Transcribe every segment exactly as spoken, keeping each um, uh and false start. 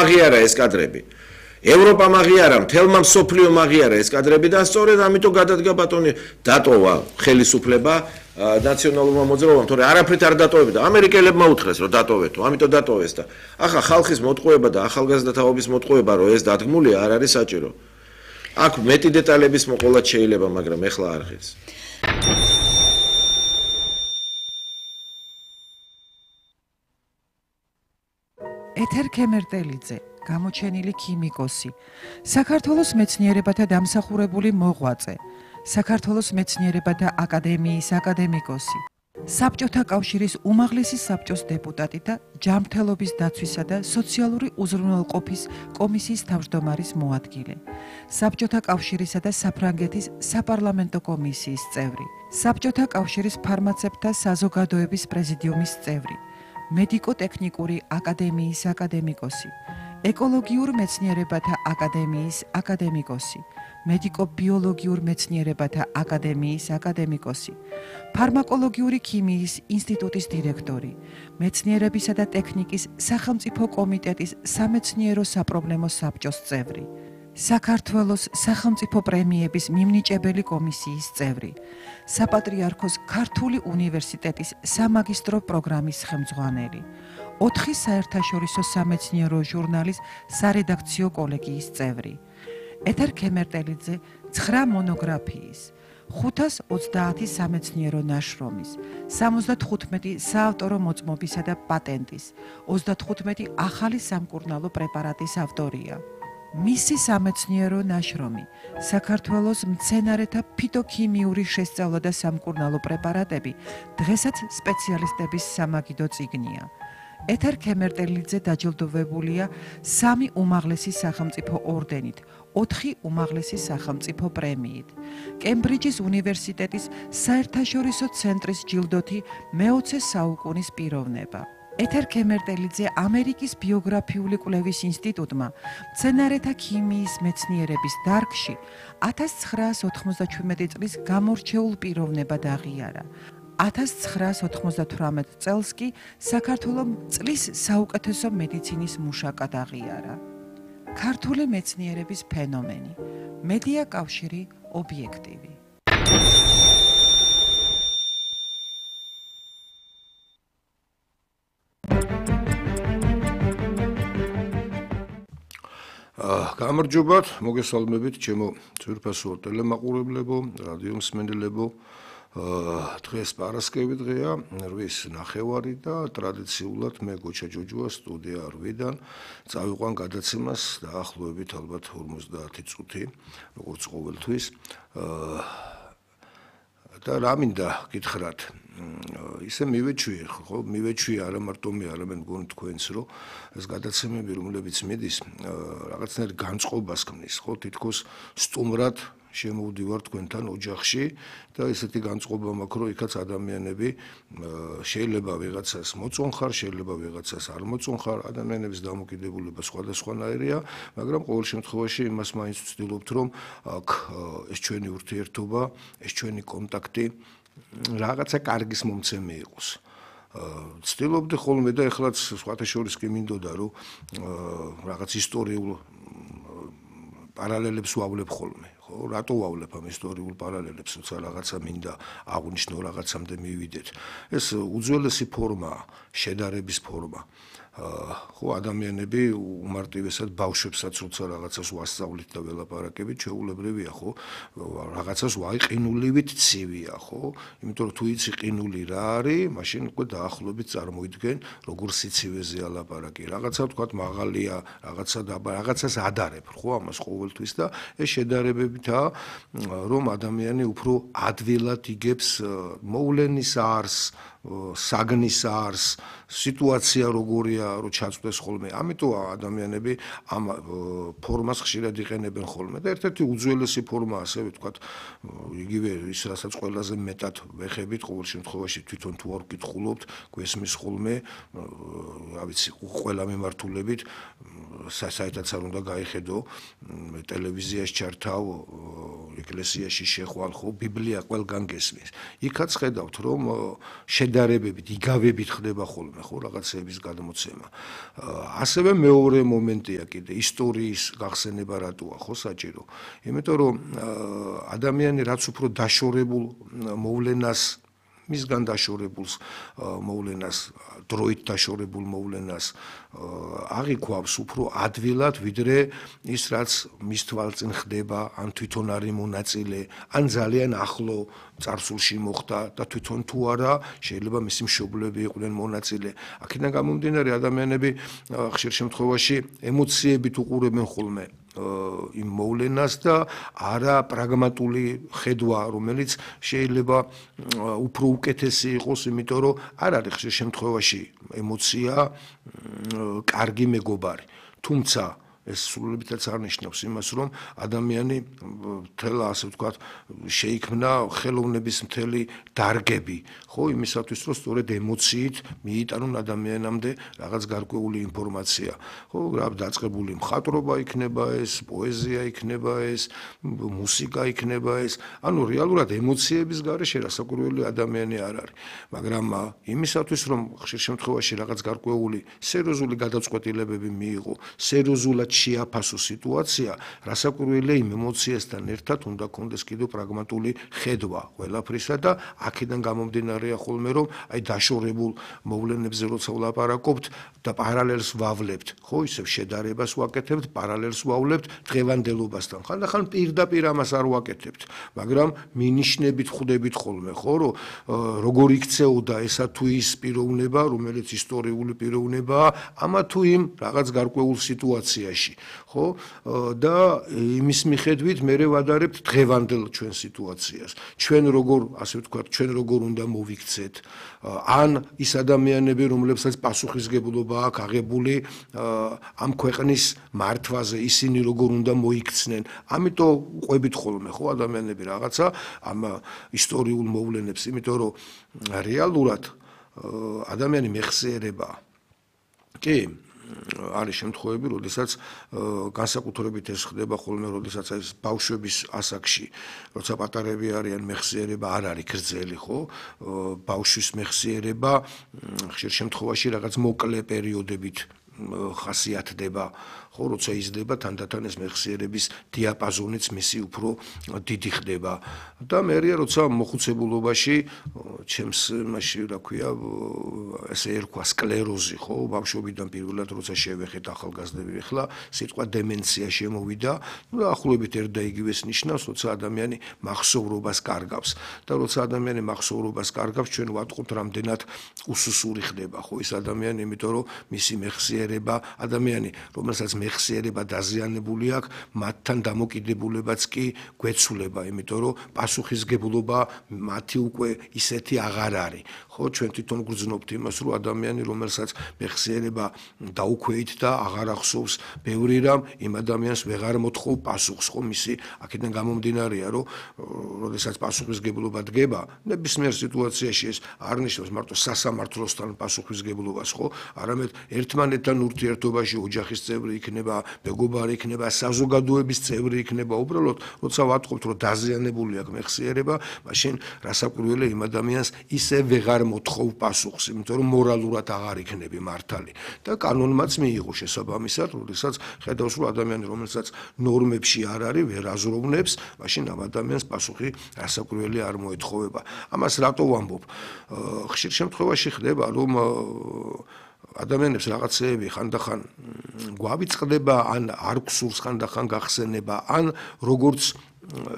აღიარა ეს კადრები. ევროპამ აღიარა, მთელმა მსოფლიომ აღიარა ეს კადრები და სწორედ ამიტომ გადადგა ბატონი დატოვა ხელისუფლება ნაციონალურმა მოძრაობამ, თორე არაფრით არ დატოვებდა. ამერიკელებმა უთხრეს, რომ დატოვეთო, ამიტომ დატოვეს და ახლა ხალხის მოტყუება და ახალგაზრდა თაობის მოტყუება, რომ ეს დადგმულია, არ არის საჭირო. აქ მეტი დეტალების მოყოლაც შეიძლება, მაგრამ ეხლა არ ღირს. ეთერ ქემერტელიძე, გამოჩენილი ქიმიკოსი, საქართველოს მეცნიერებათა დამსახურებული მოღვაწე, საქართველოს მეცნიერებათა აკადემიის აკადემიკოსი, საბჭოთა კავშირის უმაღლესი საბჭოს დეპუტატი და ჯანმრთელობის დაცვისა და სოციალური უზრუნველყოფის კომისიის თავმჯდომარის მოადგილე, საბჭოთა კავშირისა და საფრანგეთის საპარლამენტო კომისიის წევრი, საბჭოთა კავშირის ფარმაცევტთა საზოგადოების პრეზიდიუმის წევრი, მედიკო-ტექნიკური აკადემიის აკადემიკოსი, ეკოლოგიურ მეცნიერებათა აკადემიის აკადემიკოსი, მედიკო-ბიოლოგიურ მეცნიერებათა აკადემიის აკადემიკოსი, ფარმაკოლოგიური ქიმიის ინსტიტუტის დირექტორი, მეცნიერებისა და ტექნიკის სახელმწიფო კომიტეტის სამეცნიერო საპრობლემო საბჭოს წევრი, საქართველოს სახელმწიფო პრემიების მიმნიჭებელი კომისიის წევრი, საპატრიარქოს ქართული უნივერსიტეტის სამაგისტრო პროგრამის ხელმძღვანელი, ოთხი საერთაშორისო სამეცნიერო ჟურნალის სარედაქციო კოლეგიის წევრი, ეთერ ქემერტელიძე ცხრა მონოგრაფიის, ხუთას ოცდაათი სამეცნიერო ნაშრომის, სამოცდათხუთმეტი საავტორო მოწმობისა და პატენტის, ოცდათხუთმეტი ახალი სამკურნალო პრეპარატის ავტორია. მისი სამეცნიერო ნაშრომი, საქართველოს მცენარეთა ფიტოქიმიური შესწავლა და სამკურნალო პრეპარატები, დღესაც სპეციალისტების სამაგიდო წიგნია. ეთერ ქემერტელიძე დაჯილდოვებულია სამი უმაღლესი სახელმწიფო ორდენით, ოთხი უმაღლესი სახელმწიფო პრემიით, კემბრიჯის უნივერსიტეტის საერთაშორისო ცენტრის ჯილდოთი მეოცე საუკუნის პიროვნება. ეთერ ქემერტელიძე ამერიკის ბიოგრაფიული კვლევის ინსტიტუტმა მცენარეთა ქიმიის მეცნიერების დარგში ათას ცხრაას ოთხმოცდაჩვიდმეტი წლის გამორჩეულ პიროვნებად აღიარა. ათას ცხრაას ოთხმოცდათვრამეტ წელს კი საქართველოს წლის საუკეთესო მედიცინის მუშაკად აღიარა. ქართული მეცნიერების ფენომენი, მედია კავშირი ობიექტივი. გამარჯობათ, მოგესალმებით ჩემო ძვირფასო ტელემაყურებლებო, რადიო მსმენელებო. დღეს პარასკევი დღეა, რვის ნახევარი და ტრადიციულად მე გოჩა ჯოჯოა სტუდია რვიდან წავიყვან გადაცემას დაახლოებით ალბათ ორმოცდაათი წუთი, როგორც ყოველთვის. და რა მინდა გითხრათ, ისე მივეჩვიე, ხო, მივეჩვიე არა მარტო მე, არამედ მგონი თქვენც, რომ ეს გადაცემები, რომლებიც მიდის, რაღაცნაირ განწყობას ქმნის, ხო, თითქოს სტუმრად შემოვდივარ თქვენთან ოჯახში და ესეთი განწყობა მაქვს, რომ იქაც ადამიანები შეიძლება ვიღაცას მოწონხარ, შეიძლება ვიღაცას არ მოწონხარ, ადამიანების დამოკიდებულება სხვადასხვანაირია, მაგრამ ყოველ შემთხვევაში იმას მაინც ვცდილობთ, რომ აქ ეს ჩვენი ურთიერთობა, ეს ჩვენი კონტაქტი რაღაცა კარგის მომცემი იყოს. ვცდილობდი ხოლმე და ეხლაც სხვათა შორის კი მინდოდა, რომ რაღაც ისტორიულ პარალელებს ვავლებ ხოლმე. რატო ვავლებ ამ ისტორიულ პარალელებს, როცა რაღაცა მინდა აღვნიშნო, რაღაცამდე მივიდეთ. ეს უძველესი ფორმაა, შედარების ფორმა. ხო, ადამიანები უმარტივესად ბავშვებსაც როცა რაღაცას ვასწავლით და ველაპარაკებით, ჩვეულებრივია, ხო, რაღაცას ვაიყინულივით ცივია, ხო? იმიტომ რომ თუ იცი ყინული რა არის, მაშინ უკვე დაახლოებით წარმოიდგენ, როგორ სიცივეზეა ლაპარაკი. რაღაცა ვთქვათ მაღალია, რაღაცა დაბა, რაღაცას ადარებ, ხო, ამას ყოველთვის და ეს შედარებებითაა, რომ ადამიანი უფრო ადვილად იგებს მოვლენის არსს, საგნის არსს, სიტუაცია როგორია, რომ ჩაწვდეს ხოლმე. ამიტომ ადამიანები ამ ფორმას ხშირად იყენებენ ხოლმე და ერთ-ერთი უძველესი ფორმა, ასე ვთქვათ, იგივე ის, რასაც ყველაზე მეტად ვეხებით, ყოველ შემთხვევაში თვითონ თუ არ ვკითხულობთ, გვესმის ხოლმე, რა ვიცი, ყველა მიმართულებით, საერთოდ არ უნდა გაიხედო, ტელევიზიაში ჩართავ, ეკლესიაში შეხვალ, ხო, ბიბლია ყველგან გესმის. იქაც ხედავთ, რომ შედარებებით, იგავებით ხდება ხოლმე, ხო, რაღაცების გადმოცემა. ასევე მეორე მომენტია კიდე ისტორიის გახსენება რატოა, ხო, საჭირო. იმიტომ რომ ადამიანი რაც უფრო დაშორებულ მოვლენას მისგან დაშორებულს მოვლენას, დროით დაშორებულ მოვლენას აღიქვავს უფრო ადვილად, ვიდრე ის რაც მის თვალწინ ხდება, ან თვითონ არის მონაწილე, ან ძალიან ახლო წარსულში მოხდა და თვითონ თუ არა შეიძლება მისი მშობლები იყვნენ მონაწილე. აქედან გამომდინარე ადამიანები ხშირ შემთხვევაში ემოციებით უყურებენ ხოლმე იმ მოვლენას და არა პრაგმატული ხედვა, რომელიც შეიძლება უფრო უკეთესი იყოს, იმიტომ რომ არ არის ხშირ შემთხვევაში ემოცია კარგი მეგობარი. თუმცა ეს სრულებითაც არ ნიშნავს იმას, რომ ადამიანი მთელ ასე ვთქვათ შეიქმნა ხელოვნების მთელი დარგები, ხო, იმისათვის რომ სწორედ ემოციით მიიტანონ ადამიანამდე რაღაც გარკვეული ინფორმაცია. ხო, რა დაწყებული მხატვრობა იქნება ეს, პოეზია იქნება ეს, მუსიკა იქნება ეს, ანუ რეალურად ემოციების გარეშე რასაკვირველი ადამიანი არ არის. მაგრამ იმისათვის რომ ხშირ შემთხვევაში რაღაც გარკვეული სერიოზული გადაწყვეტილებები მიიღო, სერიოზულად შეაფასო სიტუაცია, რასაკვირველია იმ ემოციასთან ერთად უნდა კონდეს კიდევ პრაგმატული ხედვა ყველაფრისა და აქედან გამომდინარეა ხოლმე რომ აი დაშორებულ მოვლენებზე როცა ვლაპარაკობთ და პარალელს ვავლებთ, ხო, ისევ შედარებას ვაკეთებთ, პარალელს ვავლებთ დღევანდელობასთან. ხანდახან პირდაპირ ამას არ ვაკეთებთ, მაგრამ მინიშნებით ხვდებით ხოლმე, ხო, რომ როგორ იქცეოდა ესა თუ ის პიროვნება, რომელიც ისტორიული პიროვნებაა, ამა თუ იმ რაღაც გარკვეულ სიტუაციაში. ხო, და იმის მიხედვით მე ვადარებთ დღევანდელ ჩვენ სიტუაციას. ჩვენ როგორ, ასე ვთქვათ, ჩვენ როგორ უნდა მოვიქცეთ, ან ის ადამიანები, რომლებსაც პასუხისგებლობა აქვს აღებული ამ ქვეყნის მართვაზე, ისინი როგორ უნდა მოიქცნენ. ამიტომ ყვებით ხოლმე, ხო, ადამიანები რაღაცა ამ ისტორიულ მოვლენებს, იმიტომ რომ რეალურად ადამიანი მეხსიერებაა. კი, არის შემთხვევები, როდესაც განსაკუთრებით ეს ხდება ხოლმე, როდესაც ეს ბავშვების ასაკში, როცა პატარები არიან, მეხსიერება არ არის გრძელი, ხო? ბავშვის მეხსიერება ხშირ შემთხვევაში რაღაც მოკლე პერიოდებით ხასიათდება, ხო, როცა იზრდება, თანდათან ეს მეხსიერების დიაპაზონიც მისი უფრო დიდი ხდება. და მერია როცა მოხუცებულობაში, ჩემს მასში, რა ქვია, ესე ერქვა სკლეროზი, ხო, ბავშვობიდან პირველად როცა შევეხეთ ახალგაზრდები, ახლა სიტყვა დემენცია შემოვიდა, და ახლობით ერთ და იგივეს ნიშნავს, როცა ადამიანი მახსოვრობას კარგავს. და როცა ადამიანი მახსოვრობას კარგავს, ჩვენ ვატყობთ, რამდენად უსუსური ხდება, ხო, ეს ადამიანი, იმიტომ რომ მისი მეხსიერება, ადამიანი, რომელსაც მეხსიერება დაზიანებული აქვს, მათთან დამოკიდებულებაც კი გვეცვლება, იმიტომ რომ პასუხისგებლობა მათი უკვე ისეთი აღარ არის. ხო, ჩვენ თვითონ გვგრძნობთ იმას, რომ ადამიანი, რომელსაც მეხსიერება დაუქვეით და აღარ ახსოვს ბევრი რამ, იმ ადამიანს ვეღარ მოთხოვ პასუხს, ხო, მისი აქედან გამომდინარეა, რომ როდესაც პასუხისგებლობა დგება, ნებისმიერ სიტუაციაში ეს არ ნიშნავს მარტო სასამართლოსთან პასუხისგებლობას, ხო, არამედ ერთმანეთთან ურთიერთობაში ოჯახის წევრი იქნება, მეგობარი იქნება, საზოგადოების წევრი იქნება, უბრალოდ როცა ვატყობთ, რომ დაზიანებული აქვს მეხსიერება, მაშინ რასაკვირველია იმ ადამიანს ისე ვეღარ მოთხოვ პასუხს, იმიტომ რომ მორალურად აღარ იქნები მართალი. და კანონმაც მიიღო შესაბამისად, როდესაც ხედავს, რომ ადამიანი, რომელსაც ნორმებში არ არის, ვერ აზროვნებს, მაშინ ამ ადამიანს პასუხი რასაკვირველია არ მოეთხოვება. ამას რატო ვამბობ? ხშირ შემთხვევაში ხდება, რომ ადამიანებს რაღაცეები ხანდახან გვავიწყდება, ან არ გვსურს ხანდახან გახსენება, ან როგორც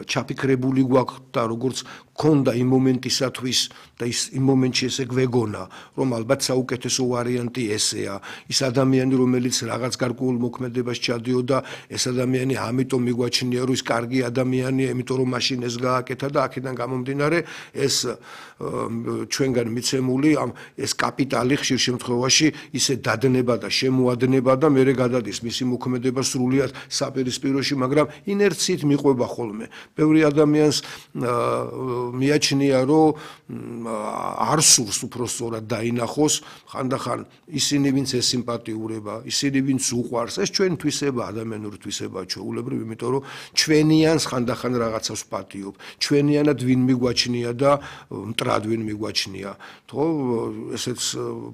ჩაფიქრებული გვაქვს და როგორც ქონდა იმ მომენტისათვის და ის იმ მომენტში ესე გვეგონა, რომ ალბათ საუკეთესო ვარიანტი ესეა. ის ადამიანი, რომელიც რაღაც გარკვეულ მოქმედებას ჩადიოდა, ეს ადამიანი ამიტომ მიგვაჩნია, რომ ის კარგი ადამიანია, იმიტომ რომ მაშინ ეს გააკეთა და აქედან გამომდინარე ეს ჩვენგან მიცემული ამ ეს კაპიტალი ხშირ შემთხვევაში ისე დადნება და შემოადნება და მერე გადადის მისი მოქმედება სრულიად საპირისპიროში, მაგრამ ინერციით მიყვება ხოლმე. რამე. ბევრი ადამიანს მიაჩნია, რომ არ სურს უпростоრად დაინახოს, ხანდახან ისინი, ვინც ესიმპათიურება, ისინი, ვინც უყვარს, ეს ჩვენი თვისება, ადამიანური თვისებაა ჩვეულებრივ, იმიტომ რომ ჩვენიანს ხანდახან რაღაცას ვპატიობ. ჩვენიანად ვინ მიგვაჩნია და მტრად ვინ მიგვაჩნია. თქო, ესეც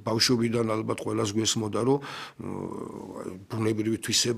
ბავშვობიდან ალბათ ყველას გვესმოდა, რომ ბუნებრივი თვისება